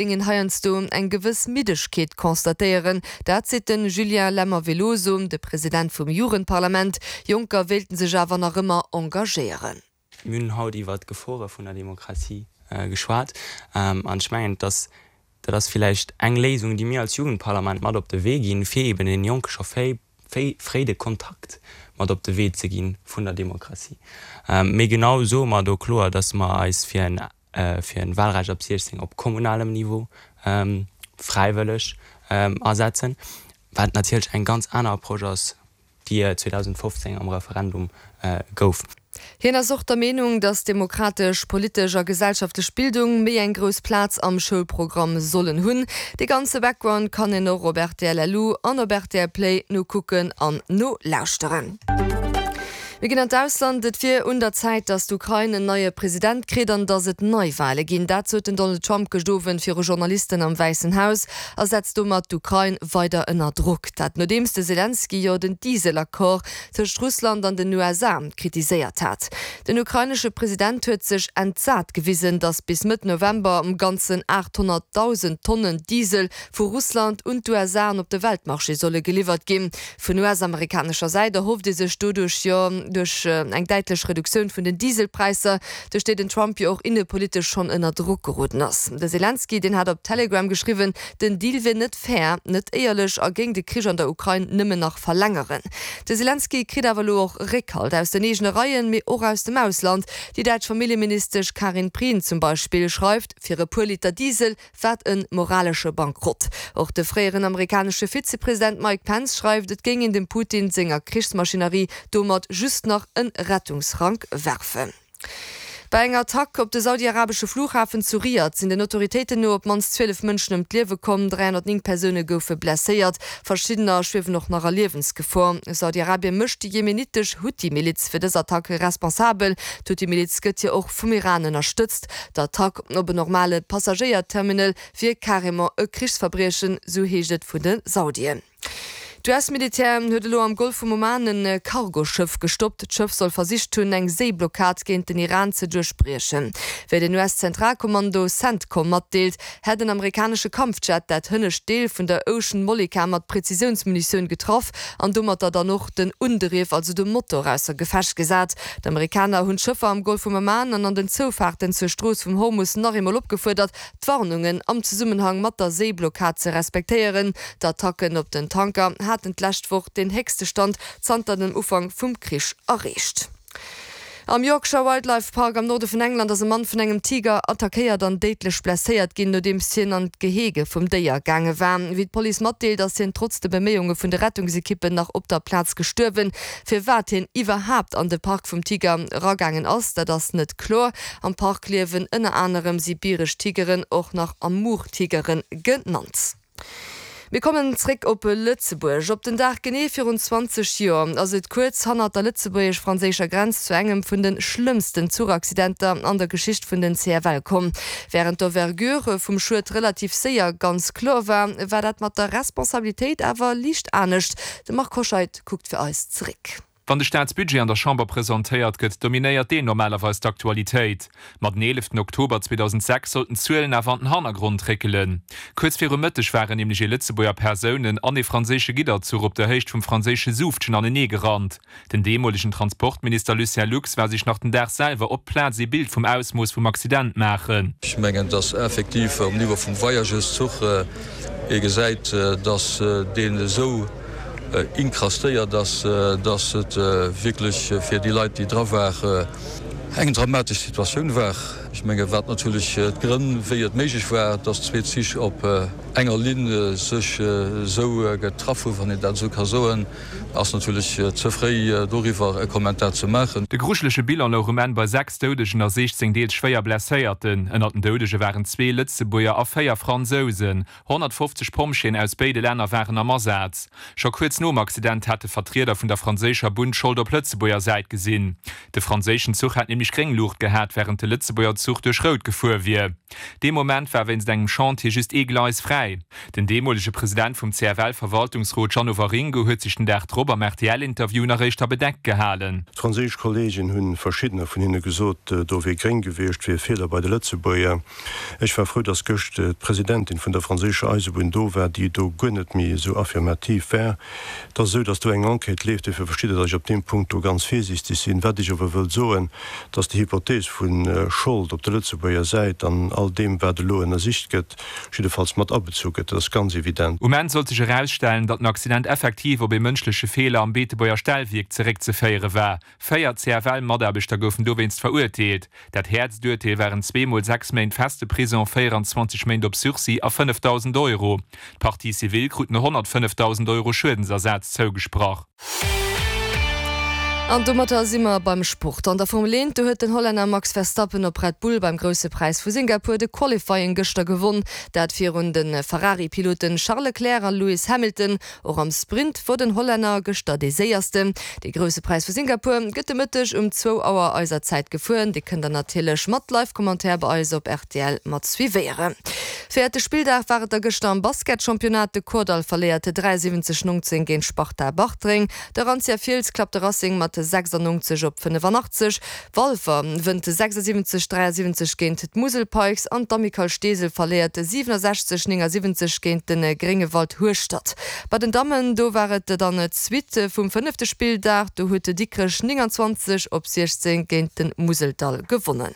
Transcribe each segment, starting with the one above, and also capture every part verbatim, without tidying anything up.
Géingen heiansdo eng gewëss Middegkeet constatéieren. Dat seet de Julien Lemmer-Veloso, de President vum Jugendparlament. Jonker wéilten sech awer nach ëmmer engagéieren. Mir hunn haut iwwer d'Gefore vun der Demokratie geschwat an ech mengen, dass dat ass villäicht eng Léisung, déi mir als Jugendparlament mat op de Wee ginn, fir eben den Jonke scho fréi de Kontakt mat op de Wee ze gi vun der Demokratie. Mee genau soe mer do kloer, dass mer eis fir en fir en Wahlrecht ab siechzéng op kommunalem Niveau fräiwëlleg asetzen, wat natierlech eng ganz aner Approche ass, déi zweedausendfofzéng am Referendum gouf. Hien ass och der Meenung, datt demokratesch, politesch a gesellschaftlech Bildung méi eng grouss Plaz am Schoulprogramm sollen hunn. Dee ganze Background kann een och op rtl Lu an op rtl Play nokucken an nolauschteren. Mir ginn an d'Ausland. Et wier un der Zäit, datt d'Ukrain en neie President kritt an datt et Neiwale ginn. Dat sot den Donald Trump gëscht Owend viru Journalisten am Wäissen Haus a setzt domat d'Ukrain weider ënner Drock. Dat nodeems de Selenskyj jo den Diesel-Accord tëscht Russland an den U S A kritiséiert hat. Den ukrainesche President huet sech entsat gewisen, datt bis Mëtt November am Ganzen aathonnertdausend Tonnen Diesel vu Russland un d'U S A an op de Weltmarché solle geliwwert ginn. Vun U S-amerikanescher Säit erhofft ee sech doduerch jo duerch eng däitlech Reduktioun vun den Dieselpräisser, duerch déi den Trump jo och innepolitesch schonn ënner Drock geroden ass. De Selenskyj, deen hat op Telegram geschriwwen, den Deal wier net fair, net éierlech a géing de Krich an der Ukrain nëmmen nach verlängeren. De Selenskyj kritt awer elo och Réckhalt aus den eegene Reien, mee och aus dem Ausland. Déi däitsch Familljeministesch Karin Prien zum Beispill schreift, fir e puer Liter Diesel, wat e moralesche Bankrott. Och de fréieren amerikanesche Vizepresident Mike Pence schreift, et géing een dem Putin senger Krichsmaschinerie domat just nach en Rettungsrank werfen. Bei enger Attack op de saudi-arabesche Flughafen zu Riad sinn den Autoritéiten no op d'mannst zwielef Mënschen ëm d'Liewe komm, dräihonnertnéng Persoune goufe blesséiert, verschiddener schwiewen och nach a Liewensgefor. Saudi-Arabie mécht déi jemenitesch Huthi-Miliz fir dës Attack responsabel. D'Huthi-Miliz gëtt jo och vum Iran ënnerstëtzt. D'Attack op en normale Passagéierterminal wier carrément e Krichsverbriechen, sou heescht et vun de Saudien. D'U S-Militär huet elo am Golf vum Oman e Cargoschëff gestoppt. D'Schëff soll versicht hunn, eng Séiblockad géint den Iran ze duerchbriechen. Wéi den U S-Zentralkommando Centcom matdeelt, hätt en amerikanesche Kampfjet dat hënnescht Deel vun der Ocean Mollica mat Prezisiounsmunitioun getraff an domatter dann och den Undriff, also de Motor, ausser Gefecht gesat. D'Amerikaner hunn d'Schëffer am Golf vum Oman an an den Zoufaarten zur Strooss vum Hormus nach eemol opgefuerdert, d'Warnungen am Zesummenhang mat der Séiblockad ze respektéieren. D'Attacken op den Tanker haten d'lescht Woch den héchste Stand zanter dem Ufank vum Krich erreecht. Am Yorkshire Wildlife Park am Norde vun England ass e Mann vun engem Tiger attackéiert an déidlech blesséiert ginn, nodeems hien an d'Gehege vum Déier gaange war. Wéi d'Police matdeelt, ass hien trotz de Beméiunge vun de Rettungsekippen nach op der Plaz gestuerwen. Firwat hien iwwerhaapt an de Park vum Tiger eragaangen ass, dat ass net kloer. Am Park liewen ënner anerem sibiresch Tigeren, och nach Amur-Tigere genannt. Mir kommen zréck op Lëtzebuerg. Op den Dag genee virun zwanzeg Joer ass et kuerz hannert der lëtzebuergesch-franséischer Grenz zu engem vun de schlëmmsten Zuchaccidenter an der Geschicht vun den C F L komm. Wärend d'Envergure vum Schued relativ séier ganz kloer war, war dat mat der Responsabilitéit awer liicht anescht. De Marc Hoscheid kuckt fir eis zeréck. Wann de Staatsbudget an der Chamber presentéiert gëtt, dominéiert deen normalerweis d'Aktualitéit. Ma den eeleften Oktober zweedausendsechs sollten d'Zuelen awer an den Hannergrond réckelen. Kuerz viru Mëtteg waren nämlech ee Lëtzebuerger Persounen an ee franséische Gidderzuch op der Héicht vum franséische Suuftgen anenee gerannt. Den deemolegen Transportminister Lucien Lux war sech nach den Dag selwer op d'Plaz ee Bild vum Ausmooss vum Accident maachen. Ech mengen, dass effektiv um Niveau vum Voyageurszuch ee gesäit, dass deen esou inkrastéiert ass, dass et wierklech fir déi Leit, déi dra waren, eng dramatesch Situatioun war. Ech menge wat natierlech d'Grënn, wéi et méiglech war, dass zwee Zich op enger Linn sech esou getraff hunn, wann een dat esou ka soen, ass natierlech ze fréi doriwwer e Kommentar ze maachen. De grujelege Bilan louch um Enn bei sechs Doudegen a siechzéng deels schwéier Blesséierten. Ënnert den Doudege waren zwee Lëtzebuerger a véier Fransousen. Honnertfofzeg Pompjeeën aus béide Länner waren am Asaz. Scho kuerz nom Accident hate Vertrieder vun der franséischer Bunn d'Schold op Lëtzebuerger Säit gesinn. De franséischen Zuch hätt nämlech gréng Luucht gehat, wärend de Lëtzebuerger Zuch duerch Rout gefuer wier. Dee Moment war wéinst engem Chantier just ee Gleis fräi. Den deemolege President vum C F L-Verwaltungsrot Jeannot Waringo huet sech den Dag drop am R T L-Interview nach éischter bedeckt gehalen. D'franséisch Kolleegen hunn, verschiddener vun hinne gesot, do wier gréng gewiescht, wier e Feeler bei de Lëtzebuerger. Ech war frou, datt gëscht d'Presidentin vun der franséischer Eisebunn do war, déi do guer net méi esou affirmativ war. Et ass esou, datt do eng Enquête leeft, dofir verstitt Der, datt ech op deem Punkt do ganz virsiichteg sinn. Wat ech awer wëll soen, datt déi Hypothees vu Schold op der Lëtzebuerger Säit an all deem, wat elo ënnersicht gëtt, jiddefalls mat abezu gëtt, dat ass ganz evident. Um Enn sollt sech erausstellen, datt den Accident effektiv op ee mënschleche Feeler am Beetebuerger Stellwierk zeréckzeféiere war. Véier C F L-Mataarbechter goufen dowéinst verurteelt. Dat häertst Urteel waren zwee mol sechs Méint feste Prisong, véierenzwanzeg Méint op Sursis a fënnefdausend Euro. D'Partie civile kruten honnertfënnefdausend Euro Schuedensersaz zougesprach. An domatter si mer beim Sport. An der Formel eent, do huet den Hollänner Max Verstappen op Red Bull beim Grousse Präis vu Singapur de Qualifying gëschter gewonn. Dat virun de Ferrari-Piloten Charles Leclerc a Lewis Hamilton. Och am Sprint wor den Hollänner gëschter dee Séiersten. De Grousse Präis vu Singapur gëtt de Mëtteg um zwou Auer eiser Zäit gefuer. Dir kënnt dann natierlech mat Live-Commentaire bei eis op R T L mat suivéieren. Véierte Spilldag war et da gëschter am Basketchampionnat. De Kordall verléiert dräiasiwwenzeg nóngzéng géint Sparta Bartreng. De Arantia Fiels klappt de Racing mat sechsannongzeg op fënnefanachteg. Walfer wënnt sechsasiwwenzeg dräiasiwwenzeg géint d'Musel Pikes an d'Amicale Steesel verléiert siwenesechzeg néngasiwwenzeg géint de Gréngewald Hueschtert. Bei den Dammen do war et dann d'Suite vum fënnefte Spilldag, do huet Dikrech nénganzwanzeg op siechzéng géint de Museldall gewonnen.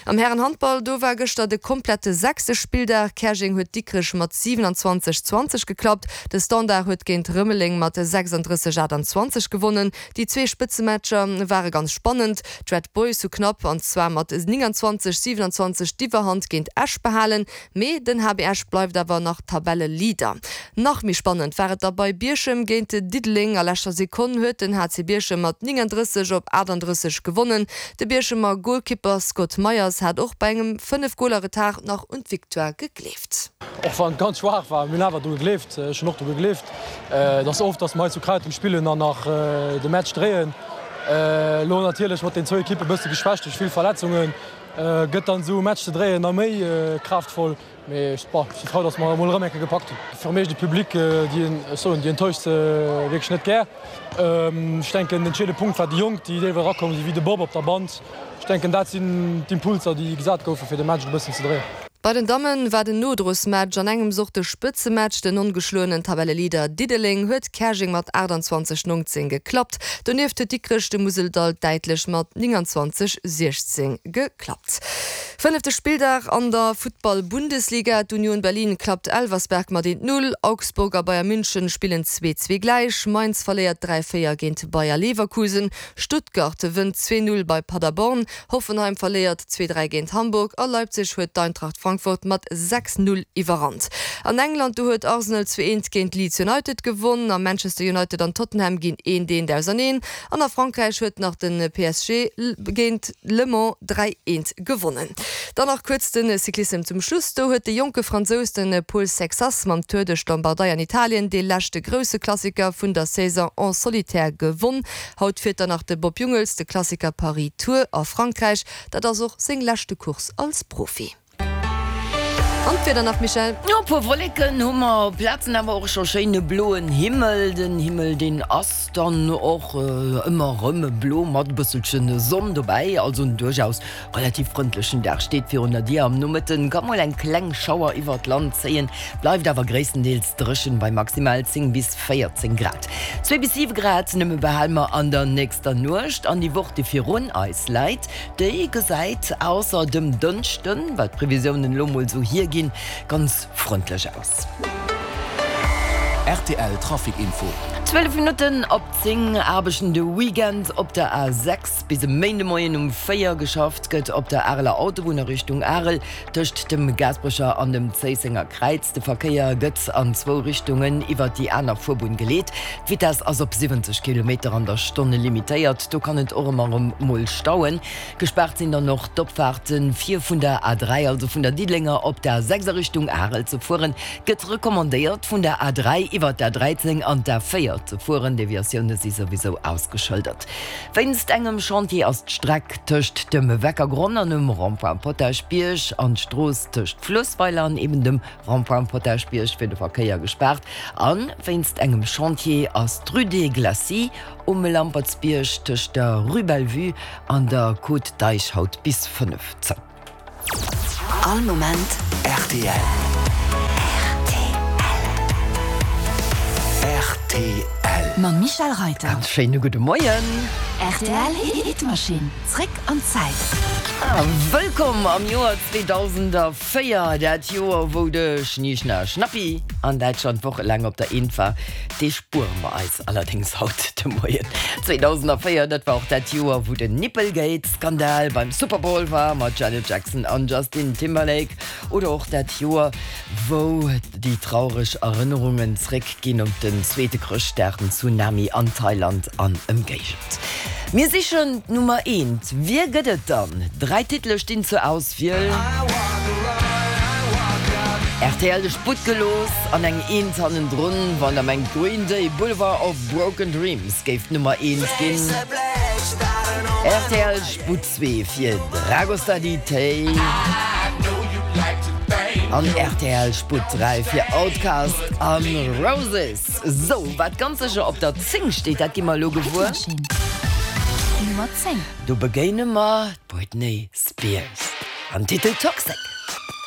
Am Härenhandball do war gëschter de komplette sechste Spilldag. Käerjeng huet Dikrech mat siwenanzwanzeg zwanzeg geklappt. De Standard huet géint Rëmeleng mat sechsandrësseg aachtanzwanzeg gewonnen. Déi zwee Spëtzematcher ware ganz spannend. D'Red Boys hu knapp an zwar mat nénganzwanzeg siwenanzwanzeg d'Iwwerhand géint Esch behalen, mee den H B Esch bleift awer nach Tabelleleader. Nach méi spannend war et da bei Bierchem géint Diddeleng. A leschter Sekonn huet den H C Bierchem mat néngandrësseg op achtandrësseg gewonnen. De Bierchemer Golkipper Scott Meyers hat och bei engem fënnef Goler Retard nach un d'Victoire gegleeft. Och wann et ganz schwaach war, mir hunn awer dru gegleeft, ech hunn och dru gegleeft. Et ass oft, dass mer hei zu Kräitem spillen an nach de Match dréien. Elo natierlech mat den zwou Ekippe bësse geschwächt duerch vill Verletzungen, gëtt dann esou e Match ze dréien nach méi kraaftvoll. Mee ech si frou, dass mer emol erëm eng Kéier gepackt hunn. Fir mech de Public, déi, ech soen, déi enttäuscht wierklech net gär. Ech denken, den entscheedende Punkt war déi Jonk, déi deelweis erakomm sinn, wéi de Bob op der Band. Ech denken, dat sinn d'Impulser, déi gesat goufen, fir de Match e bëssen ze dréien. Bei den Damme war den Nodrosmatch an engems och de Spëtzematch. Den ongeschloenen Tabelleleader Diddeleng huet Käerjeng mat achtanzwanzeg nóngzéng geklappt. Donieft huet Dikrech de Museldall däitlech mat nénganzwanzeg siechzéng geklappt. Fënnefte Spilldag an der Futtball-Bundesliga, D'Union Berlin klappt Elversberg mat eent Null, Augsburg a Bayern München spillen zwee zwee gläich, Mainz verléiert dräi véier géint Bayer Leverkusen, Stuttgart wënnt zwee Null bei Paderborn, Hoffenheim verléiert zwee dräi géint Hamburg a Leipzig huet d'Eintracht Frankfurt mat sechs Null iwwerrannt. An England do huet Arsenal zwee eent géint Leeds United gewonn a Manchester United an Tottenham ginn eent eent auserneen an a Frankräich huet nach de P S G géint Le Mans dräi eent gewonnen. Dann nach kuerz de Cyclissem zum Schluss, Do huet de jonke Fransous de Paul Sexas mam Tour duerch d'Lombardei an Italien dee leschte grousse Klassiker vun der Saison en solitaire gewonn. Haut fiert dann nach de Bob Jungels de Klassiker Paris-Tours a Frankräich. Dat ass och seng leschte Course als Profi. An d'Wieder nach, Michèle? Jo, e puer Wolleken hu mer, op Plazen awer och scho schéine bloen Himmel. Den Himmel, deen ass dann och ëmmer erëm blo mat e bësselche Sonn dobäi. Also en duerchaus relativ frëndlechen Dag steet virun der Dier. Am Nomëtte ka mol eng kleng Schauer iwwert d'Land zéien, bleift awer gréisstendeels dréchen bei maximal zéng bis véierzéng Grad. Zwee bis siwe Grad nëmme behale mer an der nächster Nuecht. An déi Woch, déi virun eis läit, déi gesäit ausser dem Dënschden, wat d'Previsiounen elo mol esou hierginn, ganz frëndlech aus. R T L Trafic Info. Zwielef Minutten op zéng. Aarbechten de Weekend op der A sechs bis e Méindemoien um véier. Geschafft gëtt op der Areler Autobunn a Richtung Arel tëscht dem Gaasperecher an dem Zéissenger Kräiz. De Verkéier gëtt an zwou Richtungen iwwer déi aner Fuerbunn geleet. D'Vitess ass op siwwenzeg Kilometer an der Stonn limitéiert. Do kann et och ëmmer erëm mol stauen. Gespaart sinn dann och d'Opfaarten, fir vun der A dräi, also vun der Diddelenger op d'A sechs a Richtung Arel ze fueren, gëtt recommandéiert vun der A dräi iwwer d'A dräizéng an d'A véier Luesweiler ze fueren. Deviatioune si souwisou ausgeschëldert. Wéinst engem Chantier ass d'Streck tëscht dem Weckergronn an dem Rond-point Potaschbierg an d'Strooss tëscht Fluessweiler an eben dem Rond-point Potaschbierg fir de Verkéier gespaart. A wéinst engem Chantier ass d'Rue des Glacis um Lampertsbierg tëscht der Rue Bellevue an der Côte d'Eich haut bis fënnef zou. All Moment rtl. Rtl. Mam Michel Reiter. Ganz schéine gudde Moien. Rtl Hitmaschinn, zréck an d'Zäit. A wëllkomm am Joer zweedausendvéier, dat Joer wou de Schni Schna Schnappi an Däitschland wochelaang op der Eent war. Dee spuere mer eis allerdéngs haut de Moien. zweedausendvéier, dat war och dat Joer wou den Nippelgate-Skandal beim Super Bowl war mat Janet Jackson an Justin Timberlake. Oder och dat Joer wou déi traureg Erënnerungen zréck ginn op den zweete Chrëschtdag, den Tsunami an Thailand an Ëmgéigend. Mir sichen d'Nummer eent. Wie gëtt et dann? Dräi Titele stinn zur Auswiel. Rtl de Sputt gelooss an eng Eent hannendrun, wann der mengt Green Day, Boulevard of Broken Dreams géif d'Nummer eent ginn. Rtl Sputt zwee fir Dragostea Din Tei an rtl Sputt dräi fir Outkast an Roses. Sou, wat ganz sécher op der zéng steet, dat gi mer elo gewuer. Nummer zéng. Do begéine mer d'Britney Spears am Titel Toxic.